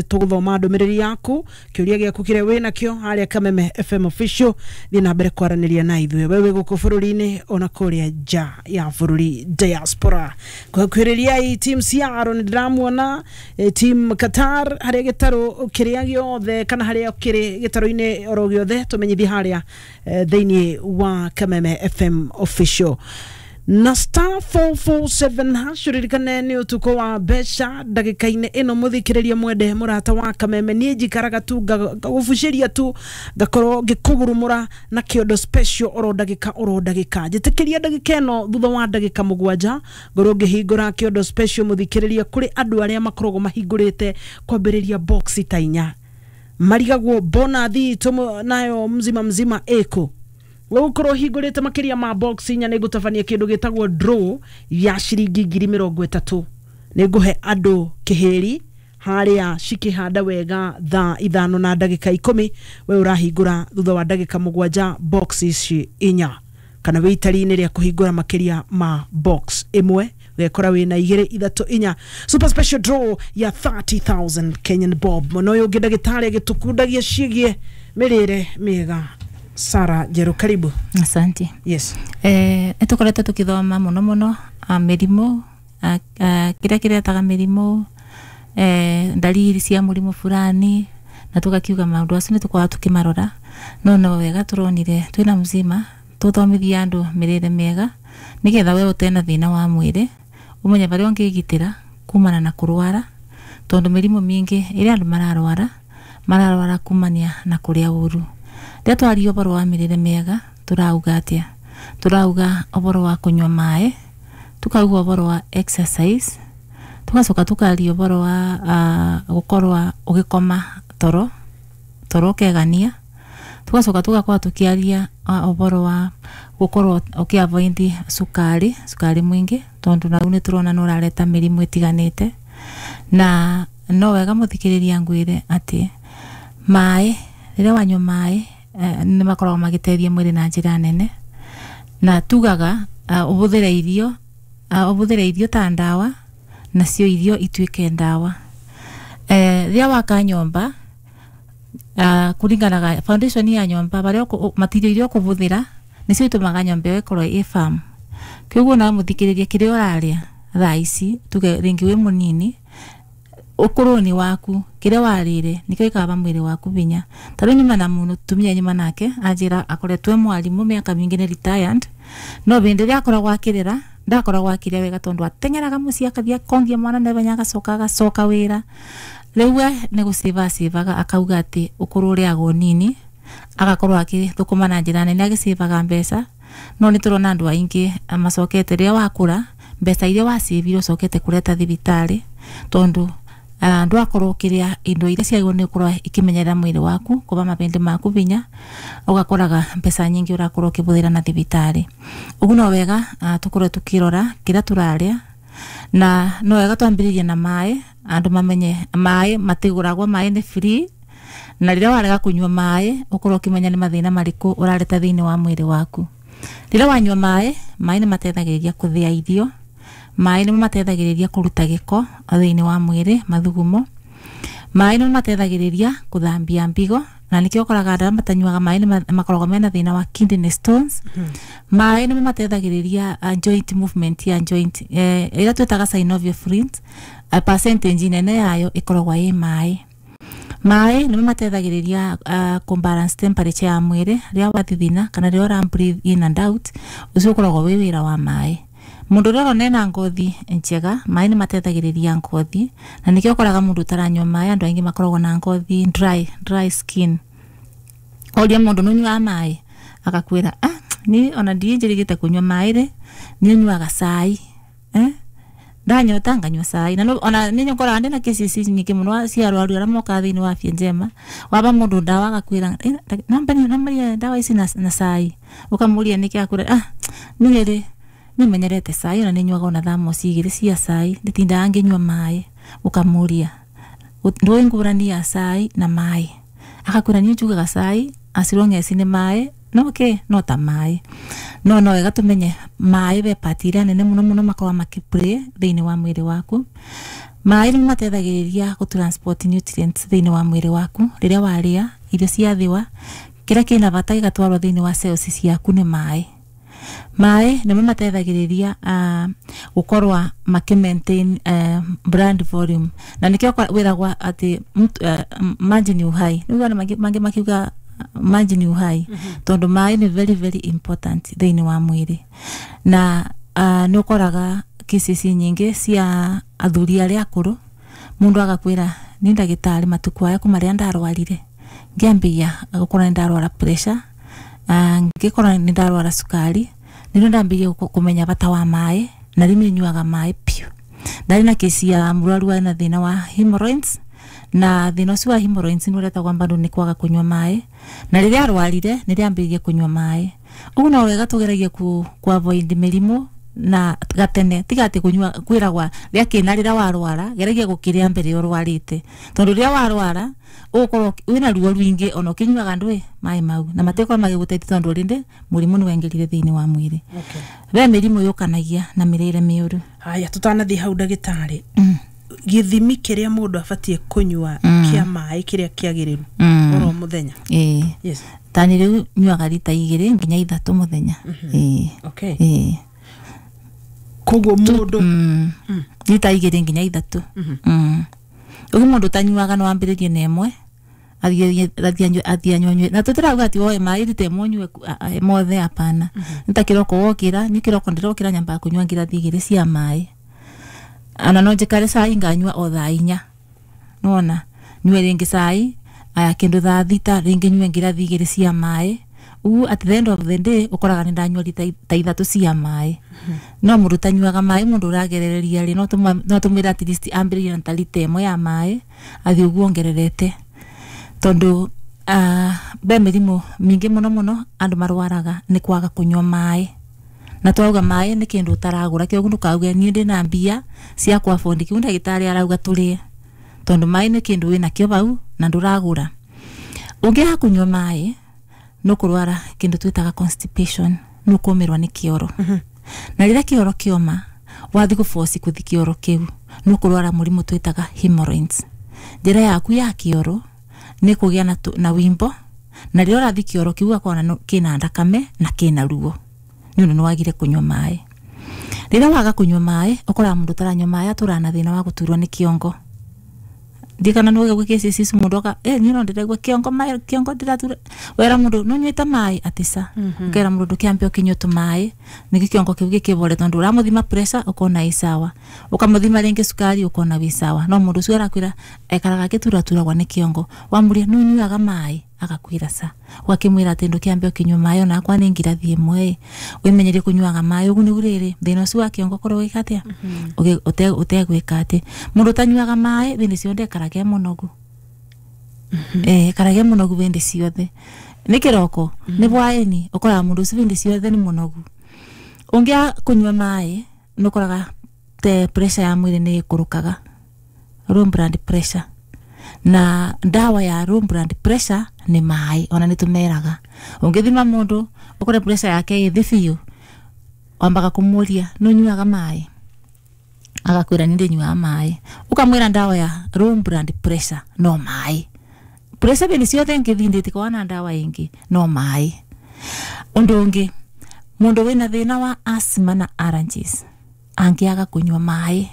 Tũgũthoma ndũmĩrĩri yaku, kĩũria gĩaku kĩrĩa wĩ nakĩo harĩa Kameme FM Official. Thiĩ na mbere kwaranĩria na ithuĩ, we wĩ gũkũ bũrũri-inĩ ona kũrĩa nja ya bũrũri, diaspora. Kũhakuhĩrĩriai team Ciaro, nĩ ndĩramuona, team Qatar, harĩa gĩtarũ kĩrĩa gĩothe kana harĩa kĩrĩ gĩtarũ-inĩ oro gĩothe, tũmenyithie harĩa thĩinĩ wa Kameme FM Official na *447#. Ririkane nĩ ũtukũ wa mbeca ndagĩka-inĩ ĩno. Mũthikĩrĩria mwende, mũrata wa Kameme, niĩ njikaraga tu ngagũbucĩria tu, ngakorwo ngĩkũgurumũra na kĩondo special oro ndagĩka oro ndagĩka. Njĩtĩkĩria ndagĩka ĩno, thutha wa ndagĩka 7 ngorwo ngĩhingũra kĩondo special. Mũthikĩrĩria, kũrĩ andũ arĩa makoragwo mahingũrĩte kwambĩrĩria box ta 4, marigagwo bonathi itũ nayo mzima mzima ĩkũ. Gũkorwo hingũrĩte makĩria ma box 4, nĩ ngũtabania kĩndũ gĩtagwo draw ya ciringi 30,000. Nĩ ngũhe andũ kĩhĩri harĩa cikĩhanda wega thaa 5:10. We ũrahingũra thutha wa ndagĩka 7 box ici 4, kana wĩ itari-inĩ rĩa kũhingũra makĩria ma box 1, ũgekora wĩna 2, 3, 4, super special draw ya 30,000 Kenyan bob. Mũno ũyũ ũngĩ, ndagĩtarĩ agĩtũkundagia ciĩgiĩ mĩrĩre mĩega, Sara Njeru, karibu. Asante. Yes. Nĩtũkoretwo tũkĩthoma mũno mũno mĩrimũ, kĩrĩa kĩretaga mĩrimũ, ndariri cia mũrimũ fulani, na tũgakiuga maũndũ acio nĩ tũkoragwo tũkĩmarora, no no wega tũronire twĩna mzima tũthomithie andũ mĩrĩre mĩega, nĩgetha we ũtena thĩna wa mwĩrĩ ũmenye barĩa ũngĩgitĩra kumana na kũrwara, tondũ mĩrimũ mĩingĩ ĩrĩa andũ mararwara, mararwara kumania na kũrĩa ũru. Rĩrĩa twaria ũhoro wa mĩrĩre mĩega, tũrauga atĩa? Tũrauga ũhoro wa kũnyua maĩ, tukauga ũhoro wa exercise, tugacoka tukaria ũhoro wa gũkorwo ũgĩkoma toro toro ũkegania, tugacoka tugakorwo tũkĩaria ũhoro wa gũkorwo ũkĩ-avoid cukari, cukari mũingĩ, tondũ nau nĩ tũrona nĩ ũrareta mĩrimũ ĩtiganĩte. Na no wega mũthikĩrĩria ngwĩre atĩ maĩ, rĩrĩa wanyua maĩ, nĩ makoragwo magĩteithia mwĩrĩ na njĩra nene. Na tugaga ũhũthĩre irio, ũhũthĩre irio ta ndawa, nacio irio ituĩke ndawa. Rĩrĩa waka nyũmba, kũringanaga foundation ya nyũmba, barĩa material iria ũkũhũthĩra nĩcio itũmaga nyũmba ĩyo ĩkorwo ĩ firm. Kĩoguo nawe mũthikĩrĩria, kĩrĩa ũrarĩa thaa ici, tuge rĩngĩ wĩ mũnini, ũkũrũ-inĩ waku kĩrĩa warĩire nĩkĩo gĩkaba mwĩrĩ waku hinya. Ta rĩu nyuma na mũtumia nyuma nake anjĩra akoretwo e mwarimũ mĩaka mĩingĩ, nĩ retired, no hĩndĩ ĩrĩa akoragwo akĩrĩra ndakoragwo akĩrĩa wega, tondũ ateng'eraga mũciĩ, akathiĩ akongia mwana naihenya, agacoka agacoka wĩra. Rĩu we nĩ gũcĩva acĩvaga, akauga atĩ ũkũrũ ũrĩagwo nini, agakorwo agĩthũkũma na njĩra nene agĩcĩvaga mbeca. No nĩ tũrona andũ aingĩ macokete, rĩrĩa wakũra, mbeca iria wacĩvire ũcokete kũreta thibitarĩ, tondũ ndwakorwo ũkĩrĩa indo iria ciagĩrĩirwo nĩ gũkorwo ikĩmenyerera mwĩrĩ waku, kũba mabĩndĩ maku hinya, ũgakoraga mbeca nyingĩ ũrakorwo ũkĩhũthĩra na thibitarĩ. Ũguo no wega tũkorwo tũkĩrora kĩrĩa tũrarĩa, na no wega twambĩrĩrie na maĩ, andũ mamenye maĩ matigũragwo, maĩ nĩ free, na rĩrĩa warega kũnyua maĩ, ũkorwo ũkĩmenya nĩ mathĩna marĩkũ ũrareta thĩinĩ wa mwĩrĩ waku. Rĩrĩa wanyua maĩ, maĩ nĩ mateithagĩrĩria kũthĩa irio, maĩ nĩmo mateithagĩrĩria kũruta gĩko thĩinĩ wa mwĩrĩ, mathugumo, maĩ nĩmo mateithagĩrĩria kũthambia mbigo, na nĩkĩo ũkoraga andũ arĩa matanyuaga maĩ nĩ makoragwo mena thĩna wa kidney stones. Maĩ nĩmo mateithagĩrĩria joint movement ya joint, ĩrĩa twĩtaga synovial fluid, percentage nene yayo ĩkoragwo ĩ maĩ. Maĩ nĩmo mateithagĩrĩria kũbalance temperature ya mwĩrĩ rĩrĩa wathithina kana rĩrĩa ũra breathe in and out, ũcio ũkoragwo wĩ wĩra wa maĩ. Mũndũ ũrĩa ũrona ena ngothi njega, maĩ nĩ mateithagĩrĩria ngothi, na nĩkĩo ũkoraga mũndũ ũtaranyua maĩ, andũ aingĩ makoragwo na ngothi dry, dry skin. Ũria mũndũ, "Nĩ ũnyuaga maĩ?" Agakwĩra, "Ah, niĩ ona ndiĩ kũnyua maĩ rĩ, niĩ nyuaga cai, eh? Ndanyota nganyua cai." Na ona nĩ nyokoraga ndĩna cases nyingĩ mũno cia arwaru arĩa mokaga thĩinĩ wa Afya Njema, waba mũndũ ndawa agakwĩra, "Eh, namba ndawa ici na cai." Ũkamũria nĩkĩ, akwĩra, "Ah, niĩ rĩ nimenyerete cai, ona nĩnyuaga ona thamosi 2 cia cai, nditindaga ngĩnyua maĩ." Ũkamũria, "Ndũĩ ngũrani ya cai na maĩ?" Agakwĩra, "Niĩ njugaga cai as long as nĩ maĩ, no okay, no ta maĩ." No wega tũmenye maĩ be part ĩrĩa nene mũno mũno makoragwo makĩplay thĩinĩ wa mwĩrĩ waku. Maĩ nĩ mateithagĩrĩria gũ transport nutrients thĩinĩ wa mwĩrĩ waku. Rĩrĩa warĩa irio ciathiwa, kĩrĩa kĩna bata gĩgatwarwo thĩinĩ wa cells ciaku nĩ maĩ. Maĩ nĩmo mateithagĩrĩria gũkorwa makĩ maintain blood volume, na nĩkĩo wĩragwa atĩ maji ni uhai. Nĩguo mangĩ makiuga maji ni uhai, tondũ maĩ nĩ very very important thĩinĩ wa mwĩrĩ. Na nĩ ũkoraga cases nyingĩ cia athuri arĩa akũrũ, mũndũ agakwĩra ni ndagĩtarĩ, matukũ aya kuma rĩrĩa ndarwarire ngĩambia gũkorwo nĩ ndarwara pressure, ngĩkorwo nĩ ndarwara cukari, nĩrĩo ndambĩrĩirie kũmenya bata wa maĩ, na rĩu nĩ nyuaga maĩ piũ. Ndarĩ na kesi ya mũrwaru warĩ na thĩna wa hemorrhoids, na thĩna ũcio wa hemorrhoids nĩ ũretagwo bado nĩ kwaga kũnyua maĩ, na rĩrĩa arwarire nĩrĩo ambĩrĩirie kũnyua maĩ. Ũguo no wega tũgeragie ku avoid mĩrimũ na gatene, tiga atĩ kũnyua kwĩragwa rĩa kĩna rĩrĩa warwara, geragia gũkĩrĩa mbere ũrwarĩte, tondũ rĩrĩa warwara ũgũkorwo wĩna ruo rwingĩ, ona ũkĩnyuaga ndũĩ maĩ mau na matikorwo magĩgũteithia, tondũ rĩndĩ mũrimũ nĩ waingĩrire thĩinĩ wa mwĩrĩ. Ve mĩrimũ yũkanagia na mĩrĩre mĩũru. Haya, tũtanathiĩ hau ndagĩtarĩ, gĩthimi kĩrĩa mũndũ abatiĩ kũnyua kĩa maĩ kĩrĩa kĩagĩrĩru oro mũthenya? Ĩĩ. Yes. Tani rĩu nyuaga rita 2 nginya 3 mũthenya. Ĩĩ. Ĩĩ. Koguo mũndũ rita 2 nginya 3. Ũguo mũndũ ũtanyuaga no ambĩrĩrie na ĩmwe, athiĩ anyue, na tũtirauga atĩ woe maĩ rita ĩmwe ũnyue mothe, hapana. Nĩ ta kĩroko wokĩra, niĩ kĩroko ndĩrokĩra nyambaga kũnyua ngirathi 2 cia maĩ, ona no njikare cai nganyua o thaa 4, nĩwona, nyue rĩngĩ cai aya kĩndũ thaa 6, rĩngĩ nyue ngirathi 2 cia maĩ. Ũguo at the end of the day ũkoraga nĩ ndanyua rita ta 3 cia maĩ. No mũndũ ũtanyuaga maĩ, mũndũ ũragerereria rĩ, no tũmwĩre at least ambĩrĩrie na ta rita 1 ya maĩ, athiĩ ũguo ongererete, tondũ be mĩrimũ mĩingĩ mũno mũno andũ marwaraga nĩ kwaga kũnyua maĩ. Na twauga maĩ nĩ kĩndũ ũtaragũra, kĩoguo ndũkauge niĩ ndĩna mbia cia kũ afford kĩu ndagĩtarĩ arauga tũrĩe, tondũ maĩ nĩ kĩndũ wĩnakĩo hau na ndũragũra. Ũngĩaga kũnyua maĩ nĩ ũkũrwara kĩndũ twĩtaga constipation, nĩ ũkũmĩrwo nĩ kĩoro. Na rĩrĩa kĩoro kĩoma, wathiĩ gũboci kũthi kĩoro kĩu, nĩ ũkũrwara mũrimũ twĩtaga hemorrhoids. Njĩra yaku ya kĩoro nĩ kũgĩa na wimbo, na rĩrĩa ũrathiĩ kĩoro kĩu ũgakora kĩna thakame na kĩna ruo, nĩ ũndũ nĩ wagire kũnyua maĩ. Rĩrĩa waga kũnyua maĩ, ũkoraga mũndũ ũtaranyua maĩ atũraga na thĩna wa gũturwo nĩ kĩongo. Ndikana nĩ ũgĩgua kĩci ici mũndũ oka, niĩ no ndĩraigua kĩongo maĩ, kĩongo ndĩratura. Wera mũndũ, nĩ ũnyuĩte maĩ? Atĩ ca. Ũkera mũndũ ndũkĩambe ũkĩnyue tũmaĩ, nĩkĩo kĩongo kĩu gĩkĩbore, tondũ ũramũthima pressure ũkona ĩ sawa, ũkamũthima rĩngĩ cukari ũkona wĩ sawa, no mũndũ ũcio arakwĩra ekaraga agĩturaturagwo nĩ kĩongo. Wamũria nĩ ũnyuaga maĩ? Agakwĩra ca. Ũgakĩmwĩra atĩ ndũkĩambe ũkĩnyue maĩ, ona akwa nĩ ngirathi 1, wĩmenyerie kũnyuaga maĩ. Ũguo nĩguo rĩrĩ thĩna ũcio wa kĩongo ũkorwo ũgĩka atĩa? Ũtegwĩka atĩ. Mũndũ ũtanyuaga maĩ hĩndĩ ciothe ekarage mũnogu. Ekarage mũnogu hĩndĩ ciothe. Nĩ kĩroko, nĩ hwaĩ-inĩ, ũkoraga mũndũ ũcio hĩndĩ ciothe nĩ mũnogu. Ũngĩaga kũnyua maĩ nĩ ũkoraga te pressure ya mwĩrĩ nĩ ĩkũrũkaga, low blood pressure. Na ndawa ya low blood pressure nĩ maĩ, ona nĩ tũmeraga. Ũngĩthima mũndũ ũkore pressure yake ĩ thĩ biũ, wambaga kũmũria nĩ ũnyuaga maĩ? Agakwĩra nĩ ndĩnyuaga maĩ. Ũkamwĩra ndawa ya low blood pressure no maĩ. Pressure hĩndĩ ciothe ngĩthiĩ ndĩtikoragwo na ndawa ĩngĩ no maĩ. Ũndũ ũngĩ, mũndũ wĩna thĩna wa asthma na allergies angĩaga kũnyua maĩ,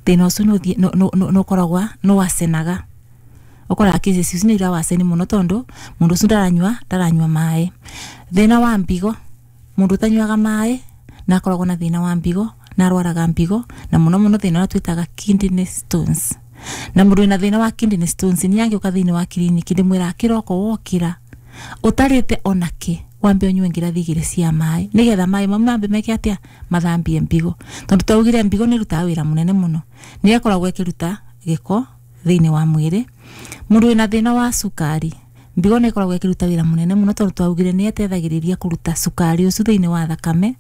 thĩna ũcio nĩ ũkoragwo nĩ wacenaga. Ũkoraga cases icio nĩ irawaceni mũno, tondũ mũndũ ũcio ndaranyua maĩ. Thĩna wa mbigo, mũndũ ũtanyuaga maĩ na akoragwo na thĩna wa mbigo, na arwaraga mbigo, na mũno mũno thĩna ũrĩa twĩtaga kidney stones. Na mũndũ wĩna thĩna wa kidney stones nĩ angĩũka thĩinĩ wa kiriniki, ndĩmwĩraga kĩroko wokĩra ũtarĩte ona kĩ, wambe ũnyue ngirathi 2 cia maĩ, nĩgetha maĩ mau mambe meke atĩa? Mathambie mbigo. Tondũ twaugire mbigo nĩ ĩrutaga wĩra mũnene mũno, nĩ ĩkoragwo ĩkĩruta gĩko thĩinĩ wa mwĩrĩ. Mũndũ wĩna thĩna wa cukari, mbigo nĩ ĩkoragwo ĩkĩruta wĩra mũnene mũno, tondũ twaugire nĩ ĩteithagĩrĩria kũruta cukari ũcio thĩinĩ wa thakame,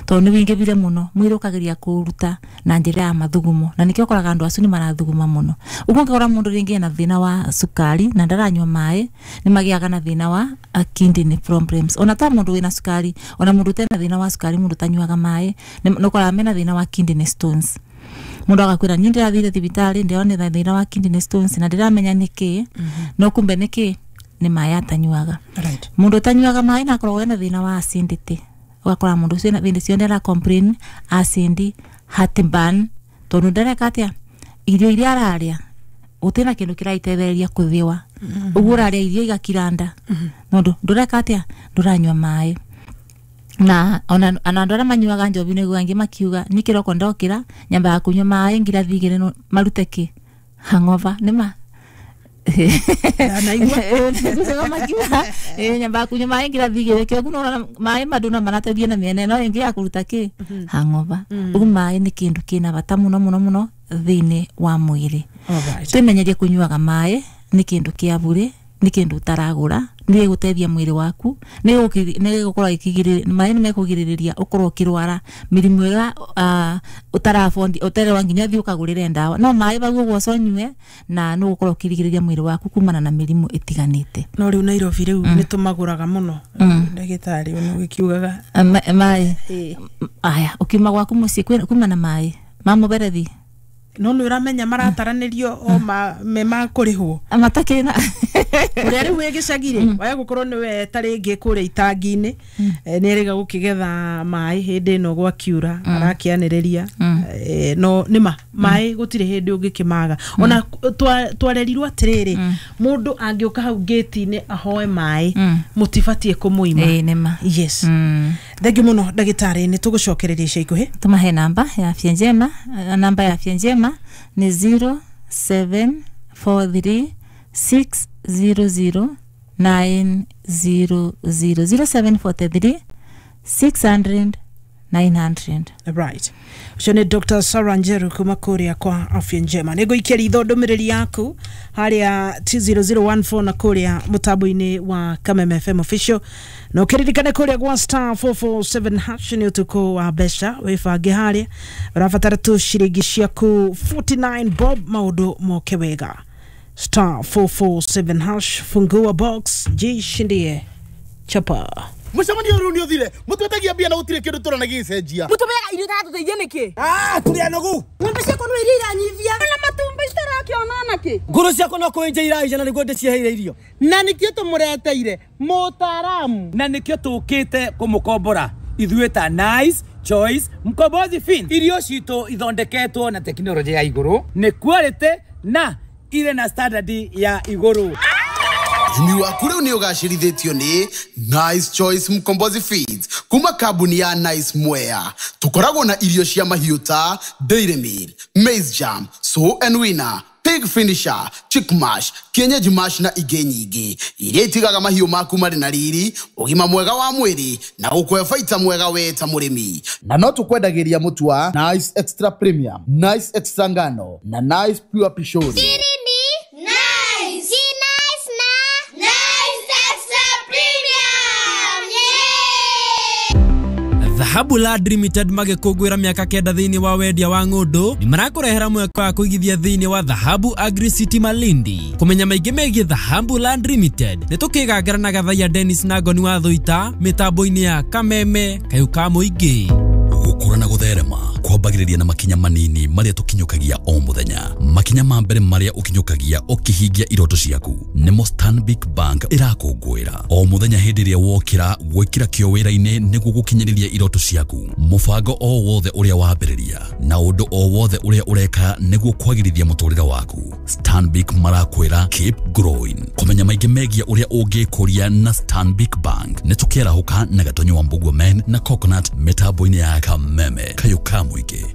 tondũ nĩ wĩingĩhire mũno, mwĩrĩ ũkageria kũũruta na njĩra ya mathugumo, na nĩkĩo ũkoraga andũ acio nĩ marathuguma mũno. Ũguo ũngĩkora mũndũ rĩngĩ ena thĩna wa cukari na ndaranyua maĩ, nĩ magĩaga na thĩna wa kidney problems. Ona ta mũndũ wĩna cukari, ona mũndũ ũtarĩ na thĩna wa cukari, mũndũ ũtanyuaga maĩ, nĩ ũkoraga mena thĩna wa kidney stones. Mundu agakwira ni ndirathire thibitari ndionetha thina wa kidney stones na ndiramenya niki no kumbe niki ni maĩ atanyuaga. Right. Mundu utanyuaga maĩ na akoragwo ena thina wa acidity, ugakora mundu ucio hĩndĩ ciothe ara complain acid, heartburn, tondu ndareka atia irio iria araria gutena kindu kiraitethereria kuthiwa, uguo uraria irio igakiranda nondu ndureka atia nduranyua maĩ. Na ona andu aria manyuaga njobi niguo angi makiuga ni kiroko ndokira nyambaga kunyua maĩ ngirathi igiri marute ki hangover nima makiuga nyambaga kunyua maĩ ngirathi igiri kio kuno maĩ manduna marateithia na miena ĩno ĩngĩ ya kuruta ki hangover. Ugu maĩ ni kindu kina bata muno muno muno thiini wa mwiri. Twimenyerie kunyuaga maĩ ni kindu kia bure, ni kindu utaragura, ni gutethia mwiri waku, ni gukorwo ikigirĩrĩria maĩ, ni mekugirĩrĩria ukorwo ukirwara mirimu ĩrĩa utarabondi uterewa nginya thiĩ ukagũrĩre ndawa. No maĩ bau ũguo ũconyue na nĩ ũgũkorwo ũkirigĩrĩria mwĩrĩ waku kumana na mĩrimũ ĩtiganĩte. No rĩu Nairobi rĩu nĩ tũmagũraga mũno ndagĩtarĩ ũyũ ũgĩkiugaga maĩ aya ũkiuma gwaku mũciĩ kuma na maĩ ma mũberethi no nä ũramenya marataranĩrio o me ma kũrĩhwo matakĩrĩ na ũrĩa rĩu wĩ gĩcagi-rĩ waya gũkorwo nĩ we ta rĩngĩ kũrĩa itangi-inĩ nĩ erĩga gũkĩgetha maĩ hĩndĩ ĩno gwakiura arakĩanĩrĩria no nĩma maĩ gũtirĩ hĩndĩ ũngĩkĩmaga. Ona twarerirwo atĩrĩrĩ mũndũ angĩũka hau gate-inĩ ahoe maĩ mũtibatiĩ kũmũima. Nĩma. Yes. Thengiũ mũno ndagĩtarĩ, nĩ tũgũcokereria ica ikuhĩ. Tũmahe namba ya Afya Njema. Namba ya Afya Njema ni 0743 600 900, 0743 600 900. Right. Ucio ni Dr. Sarah Njeru kuma kuria kwa Afya Njema. Nĩ ngũikia ritho ndũmĩrĩri yaku harĩa T0014 na kuria mũtambo-inĩ wa Kameme FM official. Na ũkĩririkane kũrĩa gwa star 447 hash nĩ ũtukũ wa mbeca wĩbange harĩa ũrabatara tu ciringi ciaku 49 bob maũndũ moke wega. Star 447 hash, fungua box, jishindie chapa. Mucemanio riu ni uthire mutwetagia mbia na gutire kindu turona gicenjia mutumeaga irio iratũteithia nĩkĩ? Tũrĩ anogu. Ng'ombe ciakwa no iria iranyivia na matumbĩ citarakĩona nakĩ. Ngũrũ ciakwa no kũenja iraija na nĩguo ndĩciheire irio. Na nĩkĩo tũmũreteire mũtaaramu, na nĩkĩo tũkĩte kũmũkombora ithuĩ ta Nice Choice Mkombozi Fin. Irio citũ ithondeketwo na tekinoronjĩ ya igũrũ, nĩ quality na irĩ na standard ya igũrũ. Ũrĩmi waku rĩu nĩ ũgacĩrithĩtio nĩ Nice Choice Mkombozi Feeds kuma kambuni ya Nice Mwea. Tũkoragwo na irio cia mahiũ ta Dairy Meal, Maize Jam, Sow and Winner, Pig Finisher, Chick Mash, Kienyeji Mash na ingĩ nyingĩ iria itigaga mahiũ maku marĩ na riri, ũgima mwega wa mwĩrĩ na gũkũhe baita mwega we ta mũrĩmi. Na no tũkwendagĩria mũtu wa Nice Extra Premium, Nice Extra Ngano na Nice Pure Pishori. Dhahabu Land Limited magĩkũngũĩra mĩaka 9 thĩinĩ wa wendia wa ng'ũndũ nĩ marakũrehera mweke wa kũigithia thĩinĩ wa Dhahabu Agri City Malindi. Kũmenya maingĩ megiĩ Dhahabu Land Limited nĩ tũkĩgangara na Gathaiya Dennis na Ngoni wa Thũita mĩtambo-inĩ ya Kameme kayũ ka mũingĩ. Gũkũra na gũtherema kwambagĩrĩria na makinya manini marĩa tũkinyũkagia o mũthenya. Makinya ma mbere marĩa ũkinyũkagia ũkĩhingia iroto ciaku nĩmo Stanbic Bank ĩrakũngũĩra o mũthenya hĩndĩ ĩrĩa wokĩra gwĩkĩra kĩo wĩra-inĩ nĩguo gũkinyĩrĩria iroto ciaku. Mũbango o wothe ũrĩa wambĩrĩria na ũndũ o wothe ũrĩa ũreka nĩguo kwagĩrithia mũtũrĩre waku, Stanbic marakwĩra keep growing. Kũmenya maingĩ megiĩ ũrĩa ũngĩkũria na Stanbic Bank nĩ tũkĩarahũka na Gatonyo wa Mbugua Men na Coconut mĩtambo-inĩ ya Kameme kayũ ka mũingĩ.